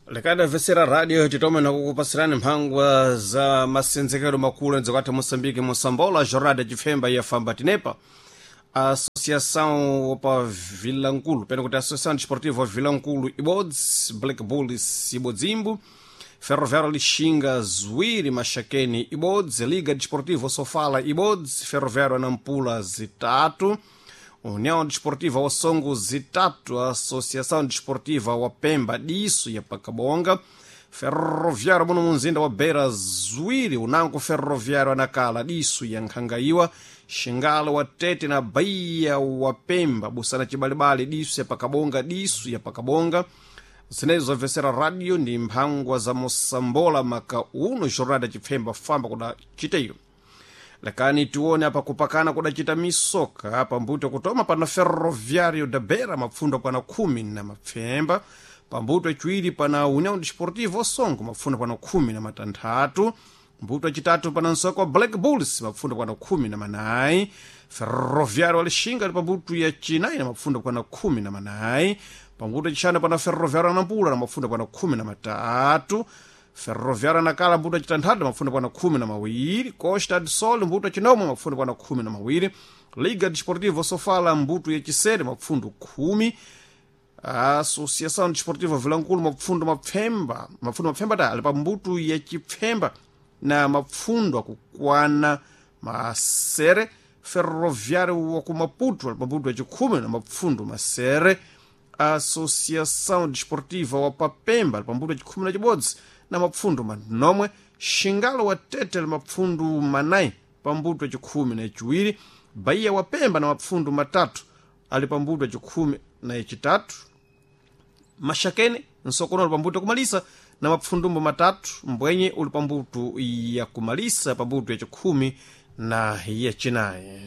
Lekadamvetsera radio titome nakukupasirani mphangwa za masenzekero makulu enzekatha Moçambique, Moçambola, Jornada Chifemba yafamba tinepa Associação pa Vilankulu, pena kuti Associação Desportiva Vilankulu ibodzi, Black Bulls ibodzimbu, Ferroviário Lixinga ziwiri, Maxakeni ibodzi, Liga Desportiva Sofala ibodzi, Ferroviário Nampula zitatu, União Desportiva Osongo zitatu, Associação Desportiva wa Pemba disso ya Pacabonga, Ferroviário muno munzinda wa Beira ziwiri, unango Ferroviário Anakala disso ya Nkhangaiwa, Xingalo wa Tete na Bahia wa Pemba, Busana Chibalibali disso ya Pacabonga, disso ya Pacabonga. Zinezo zamvetsera radio ndi mphangwa za Mosambola maka uno Jornada Chipfemba famba kuda chiteyo. Lakani tione apa kupakana kudacita misoka apa mbuto kutoma pana Ferroviário da Beira mapfundo pana 10 na mapfemba, pambuto aciwiri pana União Desportiva Osongo mapfundo pana 16, mbuto acitatu pana nsoko wa Black Bulls mapfundo pana 14, Ferroviário Alexinga ali pambuto ya cinayi na mapfundo pana 14, pambuto acixanu pana Ferroviário Nampula na mapfundo pana 13, Ferroviário Nacala mbuto acitanthatu mapfundo pana 12, Costa do Sol mbuto acinomwe mapfundo pana 12, Liga Desportiva Sofala mbuto yacisere mapfundo 10, Associação Desportiva Vilankulu mapfundo mapfemba, mapfundo mapfemba ta ali pa mbuto yacipfemba na mapfundo akukwana masere, Ferroviário wa ku Maputo ali pa mbuto yacikhumi na mapfundo masere, Associação Desportiva wa Papemba ali pa mbuto yacikhumi na cibodzi na mapfundo manomwe, Xingalo wa Tete ali mapfundo manayi pa mbuto yacikhumi na yaciwiri, Bahia wa Pemba na mapfundo matatu ali pa mbuto yacikhumi na yacitatu, Maxakene nsokono uli pambuto yakumalisa na mapfundumbo matatu, mbwenye uli pambuto yakumalisa pambuto yacikhumi na yacinayi.